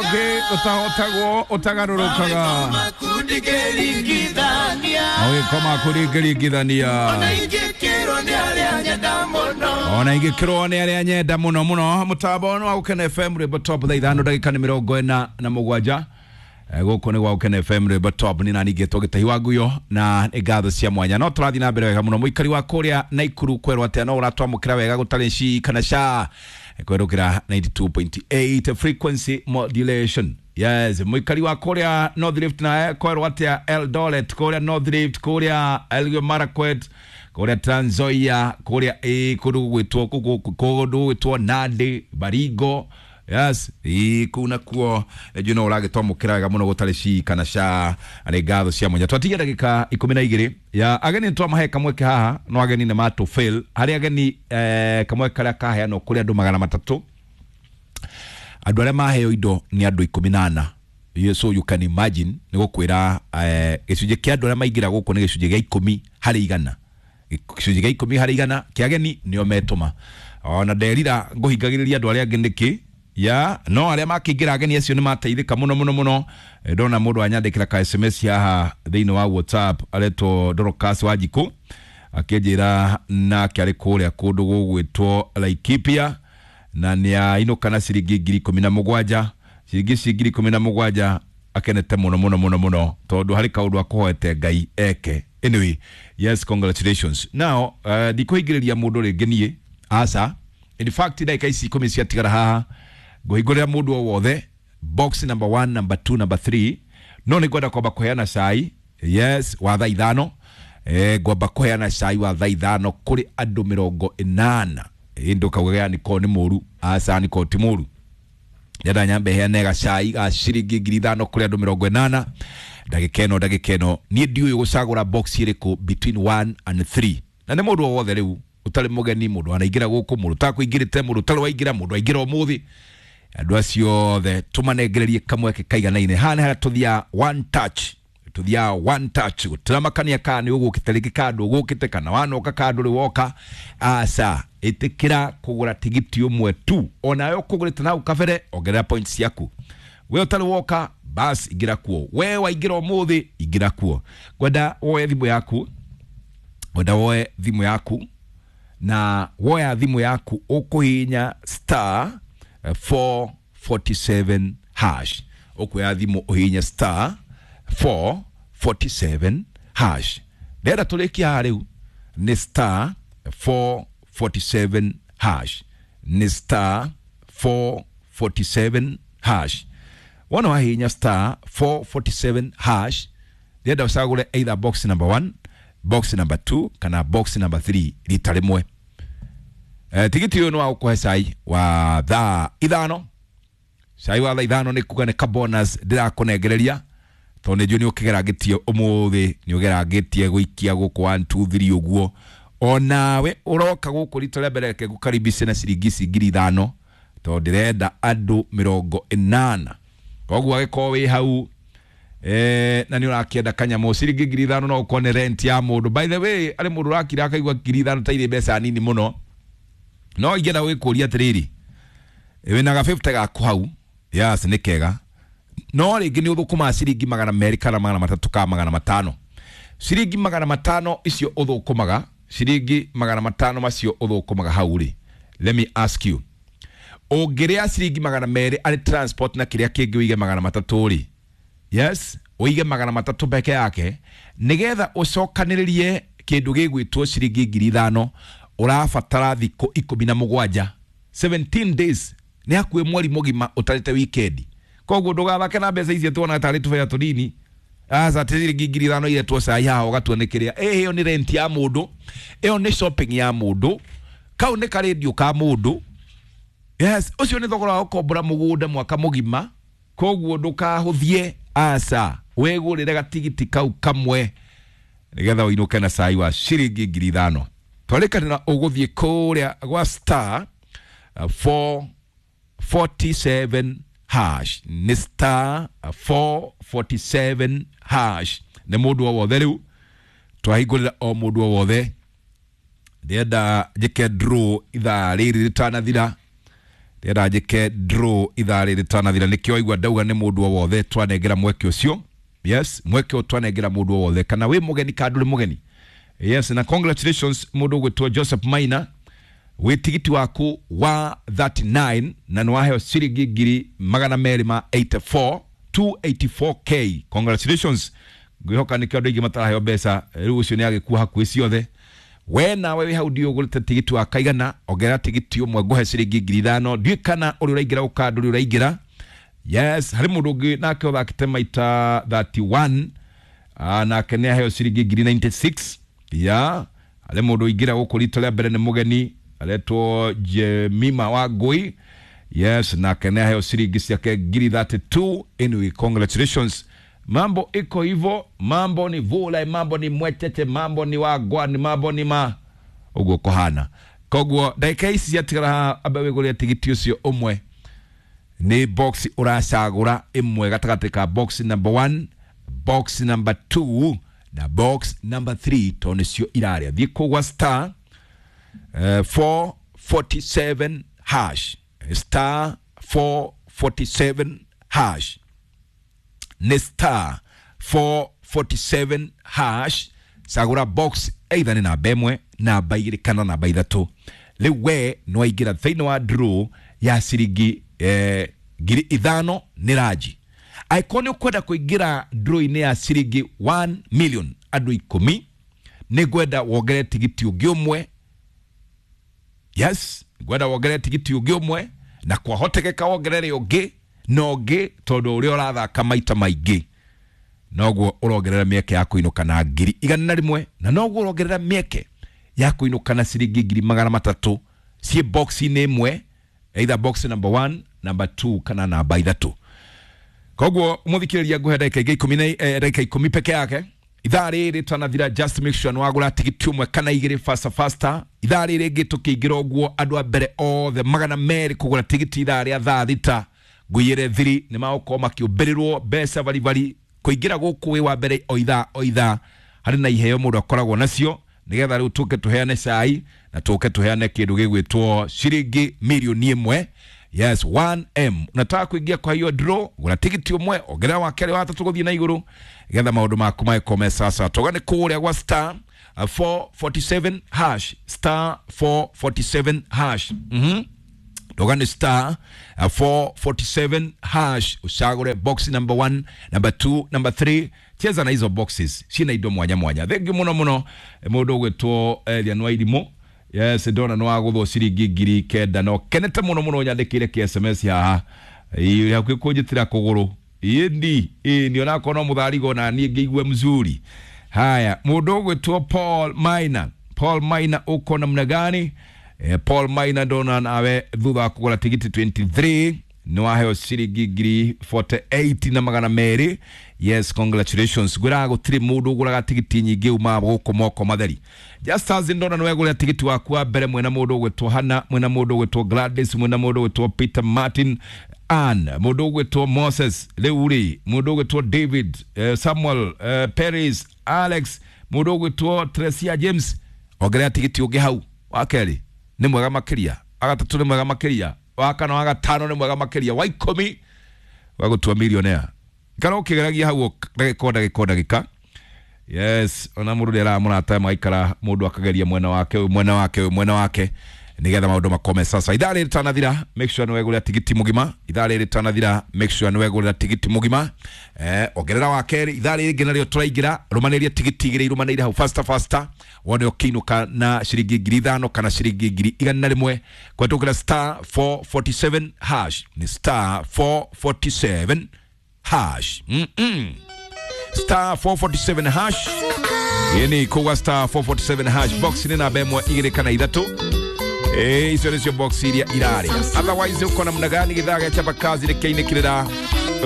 Ũngĩ ũtahotagwo ũtagarũrũkaga. Mawĩko maku ndingĩringithania. Ona ingĩkĩrwo nĩ arĩa nyenda mũno mũno. Mũtambo nĩ wa Gũkena FM, rwĩmbo top, thaa 5 ndagĩka nĩ 47. Gũkũ nĩ gwa Gũkena FM, rwĩmbo top. Nĩ nani ngĩtwo Gĩtahi wa Nguyo na nĩ ngatho cia mwanya no tũrathiĩ na mbere wega mũno. Mũikari wa kũrĩa Naikuru kwerwo atĩa? No ũratwamũkĩra wega gũtarĩ ci kana ca kwerũkĩra 92.8 frequency modulation. Yes, mũikari wa kũrĩa North Rift naye kwerwo atĩa? Eldoret, kũrĩa North Rift, kũrĩa Elgeyo Marakwet, kũrĩa Trans Nzoia, kũrĩa kũndũ gũgwĩtwo kũndũ gũgwĩtwo Nandi, Baringo. Yes, kũu nakuo njũ no ũragĩtwamũkĩra wega mũno gũtarĩ ci kana ca. Nĩ ngatho cia mwanya. Twatigia ndagĩka 12 ya ageni twamahe kamweke haha, no ageni nĩ matũ fail harĩ ageni. Kamweke karĩa kaheanwo kũrĩ andũ 300, andũ arĩa maheo indo nĩ andũ 14. So you can imagine, nĩ gũkwĩra gĩcunjĩ kĩa andũ arĩa maingĩra gũkũ nĩ gĩcunjĩ gĩa 10 harĩ igana. Gĩcunjĩ gĩa 10 harĩ igana kĩa ageni nĩo metũma. Ona nderira ngũhingagĩrĩria andũ arĩa angĩ nĩkĩ ya no arĩa makĩingĩra, ageni acio nĩ mateithĩka mũno mũno mũno. Ndona mũndũ anyandĩkĩra ka SMS haha thĩinĩ wa WhatsApp, aretwo Dorcas Wanjikũ, akĩnjĩra nake arĩ kũrĩa kũndũ gũgwĩtwo Laikipia na nĩ ainũka na ciringi 17,000. Ciringi ici 17,000 akenete mũno mũno mũno mũno tondũ harĩ kaũndũ akũhoete Ngai eke. Anyway, yes, congratulations. Now ndikũhingĩrĩria mũndũ rĩngĩ niĩ, aca. In fact, ndagĩka ici 10 ciatigara haha ngũhingũrĩra mũndũ o wothe box number 1, number 2, number 3. No nĩ ngwenda kwamba kũheana cai, yes, wa thaa 5. Ngwamba kũheana cai wa thaa 5 kũrĩ andũ 80. Ĩ ndũkauge niko nĩ mũru, aca, niko ti mũru. Ndĩrenda nyambe heane gacai ga ciringi 5,000 kũrĩ andũ 80 ndagĩka ĩno. Ndagĩka ĩno niĩ ndiũĩ gũcagũra box ĩrĩkũ between 1 and 3, na nĩ mũndũ o wothe rĩu ũtarĩ mũgeni, mũndũ wanaingĩra gũkũ, mũndũ ũtakũingĩrĩte, mũndũ ũtarĩ waingĩra, mũndũ aingĩra ũmũthĩ, andũ acio othe tũmanengererie kamweke kaiganaine. Haha nĩ harĩa tũthiaga one touch, tuthiaga one touch, gũtiramakania kana nĩ ũgũkĩte rĩngĩ, kana ndũgũkĩte, kana wanoka, kana ndũrĩ woka. Aca, ĩtĩkĩra kũgũra tigiti ũmwe tu. Onawe ũkũgũrĩte nau kabere, ongerera points ciaku. We ũtarĩ woka, bas, ingĩra kuo. We waingĩra ũmũthĩ, ingĩra kuo. Ngwenda woe thimũ yaku, ngwenda woe thimũ yaku, na woya thimũ yaku ũkũhihinya star 447 hash. Ũkuoya thimũ ũhihinye star 447 hash. Ndĩrenda tũrĩkie haha rĩu nĩ star 447 hash, nĩ star 447 hash. Wona wahihinya star 447 hash, ndĩrenda ũcagũre either box number 1, box number 2 kana box number 3 rita rĩmwe. Tigiti ũyũ nĩ wa gũkũhe cai wa thaa 5. Cai wa thaa 5 nĩ kuga nĩ ka bonus ndĩrakũnengereria tondũ nĩ njũĩ nĩ ũkĩgerangĩtie ũmũthĩ, nĩ ũgerangĩtie gũikia gũkũ 1 2 3 ũguo. Onawe ũroka gũkũ rita rĩa mbere, reke ngũkaribice na ciringi ici 5,000 tondũ ndĩrenda andũ 80. Koguo agĩkorwo wĩ hau na nĩ ũrakĩenda kanyamũ, ciringi 5,000 no ũkorwo nĩ rent ya mũndũ. By the way, arĩ mũndũ ũrakira akaigua 5,000 ta irĩ mbeca nini mũno, no ingĩenda gwĩkũria atĩrĩrĩ, wĩna ga 50 gaku hau, yes, nĩ kega, no rĩngĩ nĩ ũthũkũmaga ciringi 200 kana 300 kana 500. Ciringi 500 icio ũthũkũmaga, ciringi 500 macio ũthũkũmaga hau rĩ, let me ask you, ũngĩrĩa ciringi 200 arĩ transport na kĩrĩa kĩngĩ, ũige 300 rĩ, yes, ũige 300 peke yake nĩgetha ũcokanĩrĩrie kĩndũ gĩgwĩtwo ciringi 5,000, ũrabatara thikũ 17, 17 days, nĩ hakuhĩ mweri mũgima ũtarĩte weekend. Koguo ndũgathake na mbeca icio tuona tarĩ tũbea tũnini. Aca, ti ciringi 5,000 iretwo cai haha ũgatua nĩ kĩrĩa. Ĩyo nĩ rent ya mũndũ, ĩyo nĩ shopping ya mũndũ, kau nĩ karendio ka mũndũ. Yes, ũcio nĩ thogora wa gũkombora mũgũnda mwaka mũgima. Koguo ndũkahũthie, aca, wĩgũrĩre gatigiti kau kamwe nĩgetha ũinũke na cai wa ciringi 5,000. Twarĩkanĩra ũgũthiĩ kũrĩa gwa star 447 hash, nĩ star 447 hash. Nĩ mũndũ o wothe rĩu twahingũrĩra, o mũndũ o wothe. Ndĩrenda njĩke draw ithaa rĩrĩ rĩtanathira. Ndĩrenda njĩke draw ithaa rĩrĩ rĩtanathira, nĩkĩo waigua ndauga nĩ mũndũ o wothe twanengera mweke ũcio. Yes, mweke ũyũ twanengera mũndũ o wothe, kana wĩ mũgeni kana ndũrĩ mũgeni. Yes, na congratulations mũndũ ũgwĩtwo Joseph Maina, wĩ tigiti waku wa 39 na nĩ waheo ciringi ngiri magana merĩ ma 84, 284K. Congratulations. Ngwĩhoka nĩkĩo andũ aingĩ mataraheo mbeca rĩu, ũcio nĩ agĩkua hakuhĩ ciothe. We nawe wĩ hau ndiũ ũgũrĩte tigiti wa kaigana, ongerera tigiti ũmwe ngũhe ciringi 5,000. Ndiũĩ kana ũrĩa ũraingĩra gũka ndũrĩ ũraingĩra. Yes, harĩ mũndũ ũngĩ nake ũthakĩte maita 31. Ah, nake nĩ aheo ciringi ngiri 96. Ya harĩ mũndũ ũingĩra gũkũ rita rĩa mbere, nĩ mũgeni, aretwo Jemima wa Ngui. Yes, nake nĩ aheo ciringi ciake ngiri 32. Anyway, congratulations. Mambo iko hivyo, mambo ni vula, mambo ni mwetete, mambo ni wagwani, mambo ni ma ũguo kũhana. Koguo ndagĩka ici ciatigara haha, ambe wĩgũrĩre tigiti ũcio ũmwe. Nĩ box ũracagũra ĩmwe gatagatĩ ka box number 1, box number 2 na box number 3, tondũ nĩcio irarĩa. Thiĩ kũgwa star 447 hash, star 447 hash, nĩ star 447 hash. Cagũra box either nĩ namba ĩmwe, namba igĩrĩ kana namba ithatũ. Rĩu we nĩ waingĩra thĩinĩ wa draw ya ciringi 5,000 nĩ ranji. Angĩkorwo nĩ ũkwenda kũingĩra draw-inĩ ya ciringi 1 million andũ 10, nĩ ngwenda wongerere tigiti ũngĩ ũmwe. Yes, ngwenda wongerere tigiti ũngĩ ũmwe, na kwahotekeka wongerere ũngĩ na ũngĩ, tondũ ũrĩa ũrathaka maita maingĩ noguo ũrongerera mĩeke ya kũinũka na 100,000, na noguo ũrongerera mĩeke ya kũinũka na ciringi 300,000 ciĩ box-inĩ ĩmwe, either box number 1, number 2 kana namba ithatũ. Koguo mũthikĩrĩria, ngũhe ndagĩka ingĩ ikũmi na ndagĩka 10 peke yake ithaa rĩrĩ rĩtanathira. Just make sure nĩwagũra tigiti ũmwe kana igĩrĩ faster faster. Ithaa rĩrĩ rĩngĩ tũkĩingĩra ũguo, andũ a mbere othe 200 kũgũra tigiti ithaa rĩa thaa 6 ngũiyĩre thiri nĩ magũkorwo makĩũmbĩrĩrwo mbeca baribari. Kũingĩra gũkũ wĩ wa mbere o ithaa o ithaa harĩ na iheo mũndũ akoragwo nacio, nĩgetha rĩu tũke tũheane cai na tũke tũheane kĩndũ gĩgwĩtwo ciringi 1 million. Yes, 1M. Unataka kuingia kwa hiyo draw, gũra tigiti ũmwe, ongerera wa kerĩ, wa tatũ, gũthiĩ na igũrũ, getha maũndũ maku magĩkorwo me sasa. Toga nĩ kũrĩa gwa star 447 hash, star 447 hash. Doga ni star 447 hash, ucagũre box number 1, number 2, number 3. Cheza na hizo boxes, cina indo mwanya mwanya. Thengiũ mũno mũno. Mũndũ ũgwĩtwo Elian Wairimũ, yes, ndona nĩ wagũthwo ciringi 9,000 no kenete mũno mũno, nyandĩkĩire kĩ SMS haha. Ĩ, hakuhĩ kũnjĩtĩra kũgũrũ ĩndi ĩni, onakorwo no mũtharigo na niĩ ngĩigue mzuri. Haya, mũndũ ũgwĩtwo Paul Maina, Paul Maina, uko namna gani? Paul Maina, ndona nawe thutha wa kũgũra tigiti 23 nĩ waheo ciringi ngiri 48 na magana merĩ. Yes, congratulations. Ngwĩraga gũtirĩ mũndũ ũgũraga tigiti nyingĩ uma gũkũ moko matheri. Just as ndona nĩ wegũrĩra tigiti waku wa mbere, mwena mũndũ ũgwĩtwo Hana, mwena mũndũ ũgwĩtwo Gladys, mwena mũndũ ũgwĩtwo Peter Martin, Ann, mũndũ ũgwĩtwo Moses, rĩu rĩ mũndũ ũgwĩtwo David, Samuel, Paris, Alex, mũndũ ũgwĩtwo Tresia James. Ongerera tigiti ũngĩ hau wa kerĩ nĩ mwega makĩria, wa gatatũ nĩ mwega makĩria, wa kana, wa gatano nĩ mwega makĩria, wa 10 wagũtua millionaire. Ikara ũkĩgeragia hau ndagĩka o ndagĩka o ndagĩka. Yes, ona mũndũ nĩ aramũrata magaikara, mũndũ akageria mwena wake ũyũ, mwena wake ũyũ, mwena wake, nigetha maũndũ makome sasa. Ithaa rĩrĩ rĩtanathira, make sure nĩ wegũrĩra tigiti mũgima. Ithaa rĩrĩ rĩtanathira, make sure nĩ wegũrĩra tigiti mũgima. Ongerera wa kerĩ. Ithaa rĩrĩ rĩngĩ narĩo tũraingĩra, rũmanĩria tigiti igĩrĩ irũmanĩire hau faster faster, wone ũkĩinũka na ciringi 5,000 kana ciringi 100,000 kũhetũkĩra star 447 hash. Nĩ star 447 hash. Star 447 hash, yani kuga star 447 hash, box nĩ namba ĩmwe, igĩrĩ kana ithatũ. Icio nĩcio box iria irarĩa. Otherwise uko namna gani? Githaa gĩa chapa kazi rĩkĩinĩkĩrĩra.